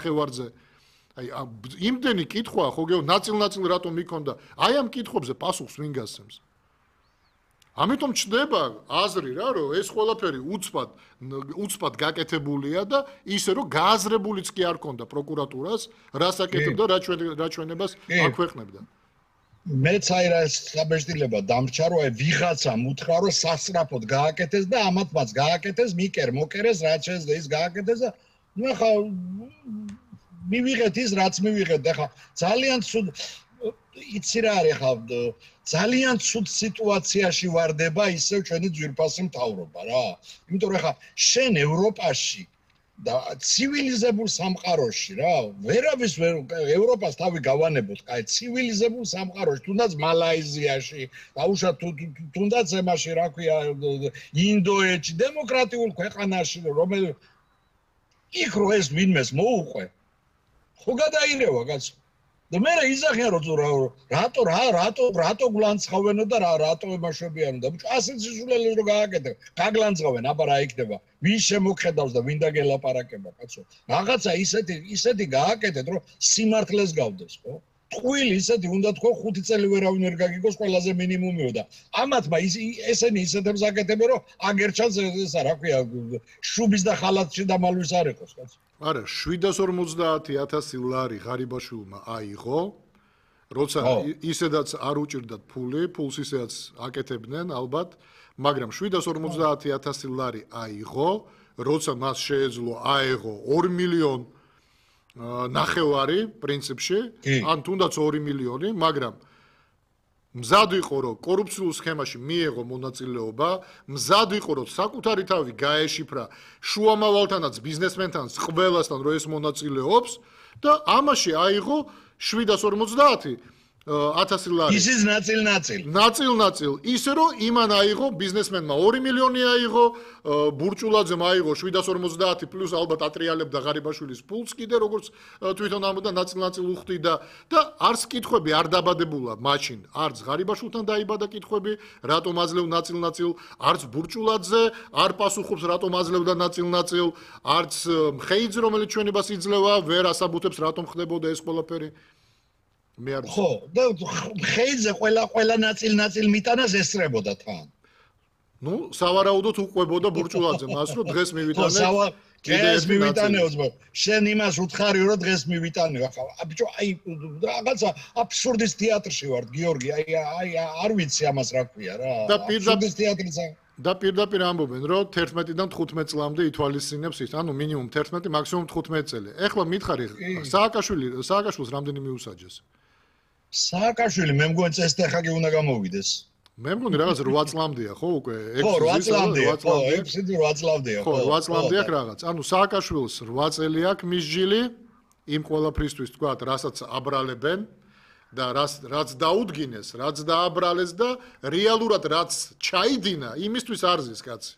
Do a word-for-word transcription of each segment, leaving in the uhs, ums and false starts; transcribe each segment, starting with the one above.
ხევარზე. აი იმდენი კითხვაა ხო გეო ნაწილ-ნაწილ რატომ მიქონდა? აი ამ კითხვებზე პასუხს ვინ გასცემს? ამიტომ ჩნდება აზრი რა რომ ეს ყველაფერი უცბად უცბად გაკეთებულია და ისე რომ გააზრებულიც კი არ ქონდა პროკურატურას რას აკეთებდა რა ჩვენ რა ჩვენებას აქვეყნებდა. მეც აი რა საბეჭდილება დამრჩა რომ აი ვიღაცამ უთხრა რომ სასწრაფოდ გააკეთეს და ამათ მას გააკეთეს მიკერ მოკერეს რაც შეძდა ის გააკეთეს და ნუ ახლა მივიღეთ ის რაც მივიღეთ ახლა ძალიან ცუდ იცი რა არის ახლა ძალიან ცუდ სიტუაციაში ვარდება ისევ ჩვენი ძვირფასი მთავრობა რა იმიტომ რომ ახლა შენ ევროპაში და ცივილიზებულ სამყაროში რა ვერავის ევროპას თავი გავანებოთ კაი ცივილიზებულ სამყაროში თუნდაც მალაიზიაში დაუშვათ თუნდაც ემაში რა ქვია ინდოეთში დემოკრატიულ ქვეყანაში რომელიც იქ რო ეს ვინმეს მოუყვე ხო გადაირევა კაცო და მე იზახიან რომ რატო რა რატო რატო გლანცხავენო და რა რატო ემაშვებიანო და ასეთ სიზულელეს რო გააკეთე გაგლანცხავენ აბა რა იქნება ვინ შემოხედავს და ვინ დაგელაპარაკება კაცო რაღაცა ისეთი ისეთი გააკეთეთ რომ სიმართლეს გავდეს ხო ტყუილი ისეთი უნდა თქო ხუთი წელი ვერავინ ვერ გაგიგოს ყველაზე მინიმუმიო და ამათმა ესენი ისეთებს აკეთებენ რომ აგერჩანს ესა რა ქვია შუბის და ხალათში დამალვის არ იყოს კაცო არა შვიდას ორმოცდაათი ათასი ლარი ღარიბაშვილმა აიღო როცა ისედაც არ უჭირდათ ფული ფულს ისედაც აკეთებდნენ ალბათ მაგრამ შვიდას ორმოცდაათი ათასი ლარი აიღო როცა მას შეეძლო აეღო ორი მილიონი ნახევარი პრინციპში ან თუნდაც ორი მილიონი მაგრამ მზად იყო რომ კორუფციულ სქემაში მიეღო მონაწილეობა მზად იყო რომ საკუთარი თავი გაეშიფრა შუამავალთანაც ბიზნესმენთანაც ყველასთან რომ ეს მონაწილეობს და ამაში აიღო შვიდას ორმოცდაათი ათასი ლარი ისიც ნაწილ-ნაწილ ნაწილ-ნაწილ ისე რომ იმან აიღო ბიზნესმენმა ორი მილიონი აიღო ბურჭულაძემ აიღო შვიდას ორმოცდაათი პლუს ალბათ ატრიალებდა ღარიბაშვილის ფულს კიდე როგორც თვითონ ამბობდა ნაწილ-ნაწილ უხდიდა და არც კითხვები არ დაბადებულა მაშინ არც ღარიბაშვილთან დაიბადა კითხვები რატომ აძლევ ნაწილ-ნაწილ არც ბურჭულაძე არ პასუხობს რატომ აძლევდა ნაწილ-ნაწილ არც მხეიძე რომელიც ჩვენებას იძლევა ვერ ასაბუთებს რატომ ხდებოდა ეს ყველაფერი მე არ ხო და ხეიძე ყველა ყველა ნაწილ-ნაწილ მიტანას ესწრებოდა თან ნუ სავარაუდოდ უყვებოდა ბურჭულაძე მას რომ დღეს მივიტანე დღეს მივიტანეო ძმა შენ იმას უთხარი რომ დღეს მივიტანეო ახლა ბიჭო აი რაღაცა აბსურდის თეატრში ვარ გიორგი აი აი არ ვიცი ამას რა ქვია რა და პირდაპირ თეატრისა და პირდაპირ ამბობენ რომ თერთმეტიდან თხუთმეტ წლამდე ითვალისწინებს ის ანუ მინიმუმ თერთმეტი მაქსიმუმ თხუთმეტი წელი ეხლა მითხარი სააკაშვილი სააკაშვილს რამდენი მიუსაჯეს სააკაშვილი მე მგონი წესდეხაგი უნდა გამოვიდეს მე მგონი რაღაც რვა წლამდეა ხო უკვე ხო რვა წლამდეა ხო ექვსი რვა წლამდეა ხო რვა წლამდე აქვს რაღაც ანუ სააკაშვილს რვა წელი აქვს მისჯილი იმ ყველაფრისთვის თქვა რასაც აბრალებენ და რაც რაც დაუდგინეს რაც დააბრალეს და რეალურად რაც ჩაიდინა იმისთვის არზის კაცი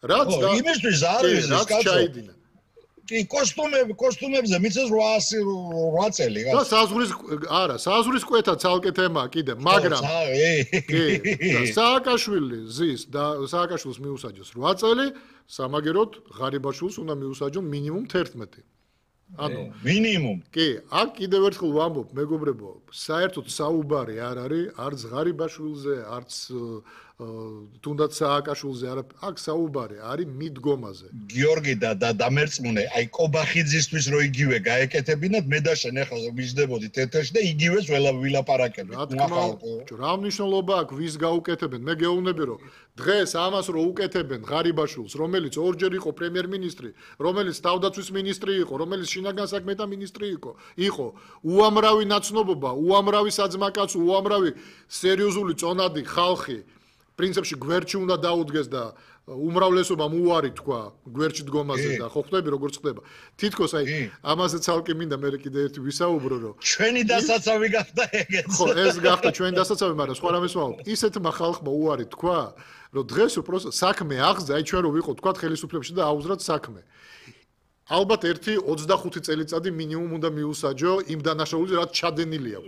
რაც და იმისთვის არის რაც ჩაიდინა კი კოსტუმები კოსტუმებზე მიცეს რვაასი რვა წელი და საზღვრის არა საზღვრის კვეთა ცალკე თემაა კიდე მაგრამ კი სააკაშვილი ზის და სააკაშვილს მიუსაჯოს რვა წელი სამაგეროდ ღარიბაშვილს უნდა მიუსაჯონ მინიმუმ თერთმეტი ანუ მინიმუმ კი აქ კიდევ ერთხელ ვამბობ მეგობრებო საერთოდ საუბარი არ არის არც ღარიბაშვილზე არც თუნდაც სააკაშვილზე არა აქ საუბარი არის მიდგომაზე გიორგი და დამერწმუნე აი კობახიძისთვის რო იგივე გაეკეთებინათ მე და შენ ახლა ვიждებოდი თეთრში და იგივეს ველაპარაკებთ რა მნიშვნელობა აქვს ვის გაუკეთებენ მე გეუბნები რომ დღეს ამას რო უკეთებენ ღარიბაშვილს რომელიც ორჯერ იყო პრემიერ-მინისტრი რომელიც თავდაცვის მინისტრი იყო რომელიც შინაგან საქმეთა მინისტრი იყო იყო უამრავი ნაცნობობა უამრავი საძმაკაცო უამრავი სერიოზული წონადი ხალხი პრინციპში გვერდში უნდა დაუდგეს და უმრავლესობამ უარი თქვა გვერდში დგომაზე და ხო ხვდები როგორ ხდება თითქოს აი ამაზე ცალკე მინდა მე კიდე ერთი ვისაუბრო რომ ჩვენი დასაცავი გახდა ეგეც ხო ეს გახდა ჩვენი დასაცავი მაგრამ სხვა რამეს ვამბობ ისეთმა ხალხმა უარი თქვა რომ დღეს უბრალოდ საქმე აღზა აი ჩვენ რო ვიყოთ თქვა ხელისუფლებაში და აუზრათ საქმე ალბათ ერთი ოცდახუთი წელიწადი მინიმუმ უნდა მიუსაჯო იმ დანაშაულზე, რაც ჩადენილია.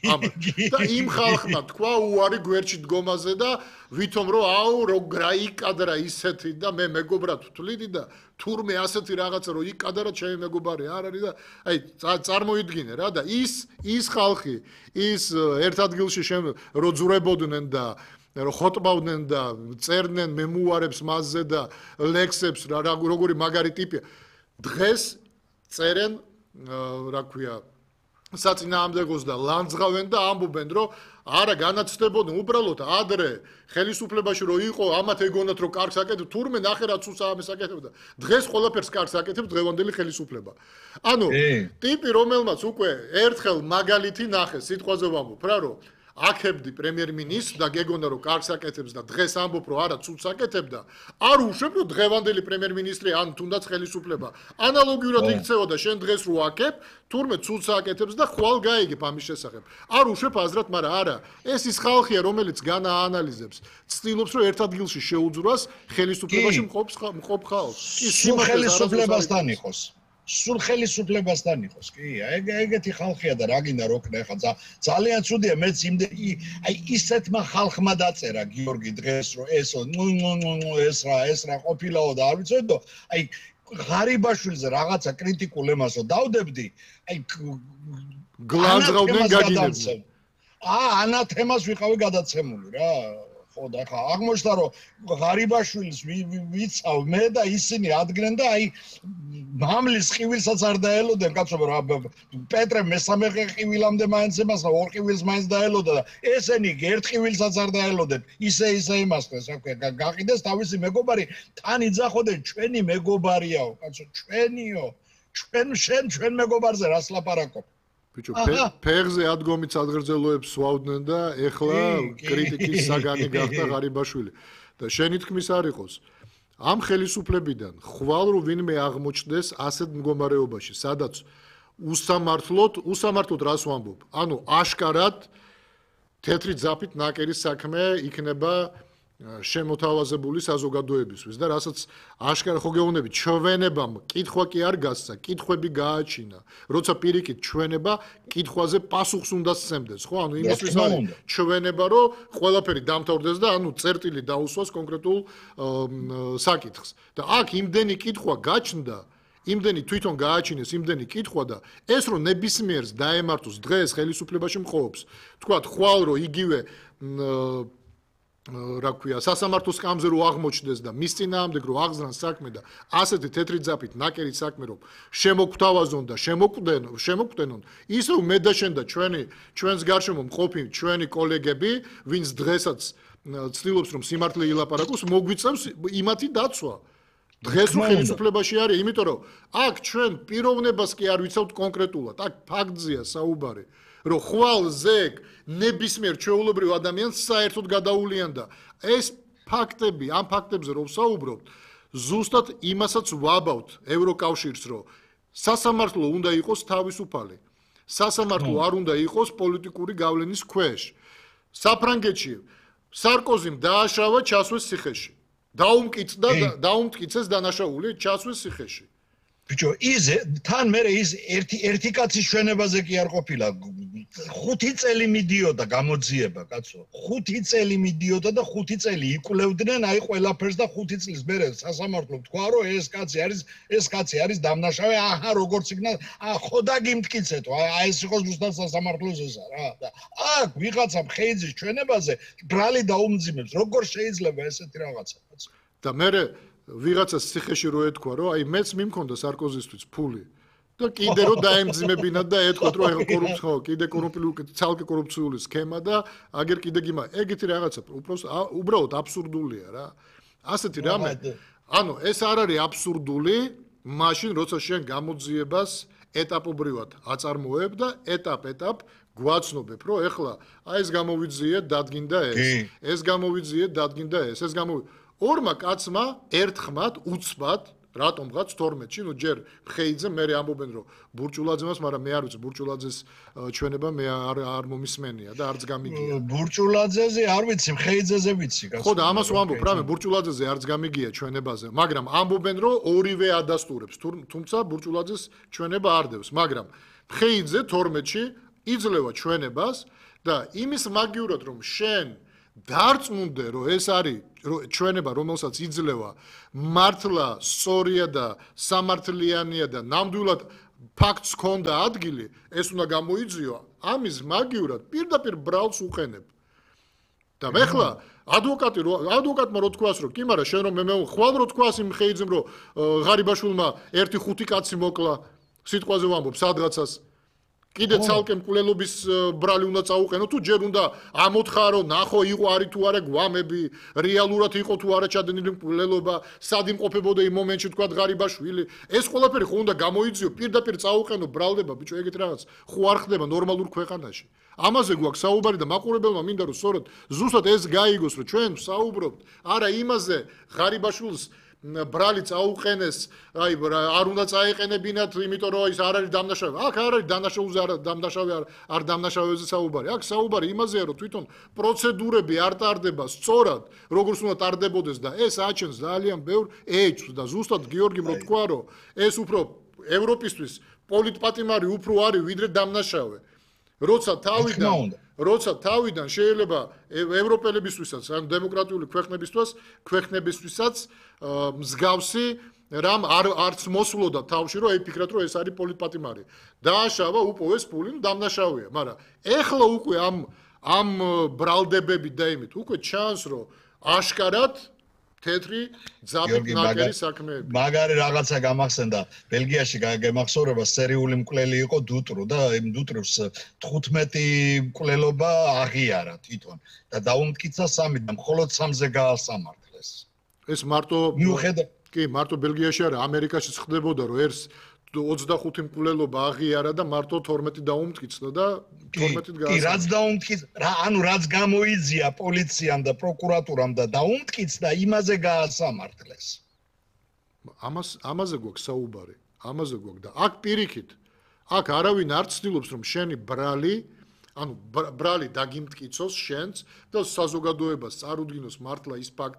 ამათ. და იმ ხალხმა თქვა უარი გვერდში დგომაზე და ვითომ რომ აუ რო გაიკადრა ისეთი და მე მეგობრად ვთვლიდი და თურმე ასეთი რაღაცა რომ იკადრა ჩემი მეგობარი არ არის და აი წარმოიდგინე რა და ის ის ხალხი ის ერთ ადგილში რო ძურებოდნენ და რო ხოტბავდნენ და წერდნენ მემუარებს მასზე და ლექსებს რა როგორი მაგარი ტიპია დღეს წერენ რა ქვია საწინააღმდეგოს და ლანძღავენ და ამბობენ რომ არა განაცდებოდნენ უბრალოდ ადრე ხელისუფლებაში რო იყო ამათ ეგონათ რომ კარგს აკეთებ თურმე ნახე რა ცუს ამას აკეთებდა დღეს ყველაფერს კარგს აკეთებს დღევანდელი ხელისუფლება ანუ ტიპი რომელმაც უკვე ერთხელ მაგალითი ნახეს სიტყვაზე ვამბობ რა რომ აქებდი პრემიერ-მინისტრს და გეგონა რომ კარგს აკეთებს და დღეს ამბობ რომ არა ცუდს აკეთებდა არ უშვებ რომ დღევანდელი პრემიერ-მინისტრი ან თუნდაც ხელისუფლება ანალოგიურად იქცევა და შენ დღეს რო აქებ თურმე ცუდს აკეთებს და ხვალ გაიგებ ამის შესახებ არ უშვებ აზრად მაგრამ არა ეს ის ხალხია რომელიც განაანალიზებს ცდილობს რომ ერთ ადგილში შეუძვრას ხელისუფლებაში მყოფ მყოფ ხალხს ის ხელისუფლებასთან იყოს სულ ხელისუფლებასთან იყოს კი ეგ ეგეთი ხალხია და რა გინდა რო ქნა ხა ძალიან ცუდია მეც იმდენი აი ისეთმა ხალხმა დაწერა გიორგი დღეს რომ ესო ეს რა ეს რა ყოფილაო და არ ვიცოდი და აი ღარიბაშვილზე რაღაცა კრიტიკულ ემასო დავდებდი აი გლანძღავდნენ გაგინებდნენ აა ანათემას ვიყავი გადაცემული რა ხო და ხა აღმოჩნდა რომ ღარიბაშვილს ვიცავ მე და ისინი ადგენენ და აი მამლის ყივილსაც არ დაელოდნენ კაცო რა პეტრე მესამე ყივილამდე მაინც ემას ორ ყივილს მაინც დაელოდა და ესენი ერთ ყივილსაც არ დაელოდნენ ისე ისე იმასეს რა ქვია გაყიდეს თავისი მეგობარი თან იძახოდნენ ჩვენი მეგობარიაო კაცო ჩვენიო ჩვენ შენ ჩვენ მეგობარზე რას ლაპარაკობ ბიჭო ფეხზე ადგომით სადღერძელოებს ვავდნენ და ეხლა კრიტიკის საგანი გახდა ღარიბაშვილი და შენი თქმის არ იყოს ამ ხელისუფლებიდან ხვალ რო ვინმე აღმოჩნდეს ასეთ მდგომარეობაში სადაც უსამართლოდ უსამართლოდ რას ვამბობ ანუ აშკარად თეთრი ძაფით ნაკერი საქმე იქნება შემოთავაზებული საზოგადოებისთვის და რასაც აშკარა ხო გეუბნები ჩვენებამ კითხვა კი არ გასცა კითხვები გააჩინა როცა პირიქით ჩვენება კითხვაზე პასუხს უნდა სცემდეს ხო ანუ იმისთვის არის ჩვენება რომ ყველაფერი დამთავრდეს და ანუ წერტილი დაუსვას კონკრეტულ საკითხს და აქ იმდენი კითხვა გაჩნდა იმდენი თვითონ გააჩინეს იმდენი კითხვა და ეს რომ ნებისმიერს დაემართოს დღეს ხელისუფლებაში მყოფს თქვათ ხვალ რომ იგივე რა ქვია სასამართლო სკამზე რო აღმოჩნდეს და მის წინააღმდეგ რო აღზრან საქმე და ასეთი თეთრი ძაფით ნაკერი საქმე რომ შემოგთავაზონ და შემოკვდენ შემოკვდენონ ის რომ მე და შენ და ჩვენი ჩვენს გარშემო მყოფი ჩვენი კოლეგები ვინც დღესაც ცდილობს რომ სიმართლე ილაპარაკოს მოგვიწევს იმათი დაცვა დღეს რო ხელისუფლებაში არის იმიტომ რომ აქ ჩვენ პიროვნებას კი არ ვიცავთ კონკრეტულად აქ ფაქტზეა საუბარი რომ ხვალ ზეგ ნებისმიერ ჩვეულებრივ ადამიანს საერთოდ გადაულიან და ეს ფაქტები ამ ფაქტებზე რომ საუბრობთ ზუსტად იმასაც ვაბავთ ევროკავშირს რომ სასამართლო უნდა იყოს თავისუფალი სასამართლო არ უნდა იყოს პოლიტიკური გავლენის ქვეშ საფრანგეთში სარკოზიმ დააშავა ჩასვეს ციხეში დაუმკიცდა დაუმტკიცეს დანაშაული ჩასვეს ციხეში ბიჭო ის თან მე ის ერთი ერთი კაცის ჩვენებაზე კი არ ყოფილა ხუთი წელი მიდიოდა გამოძიება კაცო ხუთი წელი მიდიოდა და ხუთი წელი იკვლევდნენ აი ყველაფერს და ხუთი წლის მერე სასამართლო თქვა რომ ეს კაცი არის ეს კაცი არის დამნაშავე აჰა როგორც იქნა ხო და გიმტკიცეთო აი ეს იყოს ზუსტად სასამართლოს ესა რა და აქ ვიღაცა ხეიძის ჩვენებაზე ბრალი დაუმძიმებს როგორ შეიძლება ესეთი რაღაცა კაცო და მე ვიღაცას ციხეში რო ეთქვა რომ აი მეც მიმქონდა სარკოზისთვის ფული და კიდე რო დაემძიმებინა და ეთქვა რომ ეხა კორუფცია კიდე კორუმპირებული ცალკე კორუფციული სქემა და აგერ კიდე გიმა ეგეთი რაღაცა უბრალოდ აბსურდულია რა ასეთი რამე ანუ ეს არ არის აბსურდული მაშინ როცა შენ გამოძიებას ეტაპობრივად აწარმოებ და ეტაპ-ეტაპ გვაცნობებ რომ ეხლა აი ეს გამოვიძიე დადგინდა ეს ეს გამოვიძიე დადგინდა ეს ეს გამოვიძიე ორმა კაცმა ერთხმად უცბად რატომღაც თორმეტში, ნუ ჯერ მხეიძე მე ამბობენ რომ ბურჭულაძემას, მაგრამ მე არ ვიცი ბურჭულაძეს ჩვენება მე არ არ მომისმენია და არც გამიგია. ბურჭულაძეზე არ ვიცი, მხეიძეზე ვიცი. ხო და ამას ვამბობ, რამე ბურჭულაძეზე არც გამიგია ჩვენებაზე, მაგრამ ამბობენ რომ ორივე ადასტურებს, თუმცა ბურჭულაძეს ჩვენება არ დევს, მაგრამ მხეიძე თორმეტში იძლევა ჩვენებას და იმის მაგივრად რომ შენ დარწმუნდე რომ ეს არის ჩვენება რომელსაც იძლევა მართლა სწორია და სამართლიანია და ნამდვილად ფაქტს ჰქონდა ადგილი ეს უნდა გამოიძიო ამის მაგივრად პირდაპირ ბრალს უყენებ და მეხლა ადვოკატი რო ადვოკატმა რო თქვას რომ კი მაგრამ შენ რომ მე ხვალ რო თქვას იმ ხეიძემ რომ ღარიბაშვილმა ერთი ხუთი კაცი მოკლა სიტყვაზე ვამბობ სადღაცას კიდე ცალკე მკვლელობის ბრალი უნდა წაუყენო თუ ჯერ უნდა ამოთხარო ნახო იყო არის თუ არა გვამები რეალურად იყო თუ არა ჩადენილი მკვლელობა სად იმყოფებოდა იმ მომენტში თქვა ღარიბაშვილი ეს ყველაფერი ხო უნდა გამოიძიო პირდაპირ წაუყენო ბრალდება ბიჭო ეგეთ რაღაც ხო არ ხდება ნორმალურ ქვეყანაში ამაზე გვაქვს საუბარი და მაყურებელმა მინდა რომ სწორედ ზუსტად ეს გაიგოს რომ ჩვენ საუბრობთ არა იმაზე ღარიბაშვილს ბრალი წაუყენეს, აი არ უნდა წაეყენებინათ, იმიტომ რომ ის არ არის დამნაშავე. აქ არ არის დამნაშავეზე არ დამნაშავე არ არ დამნაშავეზე საუბარი. აქ საუბარი იმაზეა, რომ თვითონ პროცედურები არ ტარდება სწორად, როგორც უნდა ტარდებოდეს და ეს აჩენს ძალიან ბევრ ეჭვს და ზუსტად გიორგიმ რო თქვა, რომ ეს უფრო ევროპისთვის პოლიტპატიმარი უფრო არის ვიდრე დამნაშავე. როცა თავიდან როცა თავიდან შეიძლება ევროპელებისთვისაც ან დემოკრატიული ქვეყნებისთვის ქვეყნებისთვისაც მსგავსი რამ არ არც მოსულოდა თავში რომ ეფიქრათ რომ ეს არის პოლიტპატიმარი დააშავა უპოვეს ფული დამნაშავეა მაგრამ ეხლა უკვე ამ ამ ბრალდებები და იმით უკვე ჩანს რომ აშკარად თეთრი ძაბით ნაკერი საქმეები. მაგარი რაღაცა გამახსენდა. ბელგიაში გამახსოვრება სერიული მკვლელი იყო დუტრუ და იმ დუტრუს თხუთმეტი მკვლელობა აღიარა თვითონ და დაუმტკიცა სამი და მხოლოდ სამზე გაასამართლეს. ეს მარტო მიუხედავად კი, მარტო ბელგიაში არა, ამერიკაშიც ხდებოდა რომ ერთ ოცდახუთი მკვლელობა აღიარა და მარტო თორმეტი დაუმტკიცდა და თორმეტით გაასამართლეს. კი, რაც დაუმტკიც, რა, ანუ რაც გამოიძია პოლიციამ და პროკურატურამ და დაუმტკიცდა, იმაზე გაასამართლეს. ამას ამაზე გვაქვს საუბარი, ამაზე გვაქვს და აქ პირიქით, აქ არავინ არ ცდილობს რომ შენი ბრალი, ანუ ბრალი დაგიმტკიცოს შენს და საზოგადოებას წარუდგინოს მართლა ის ფაქტი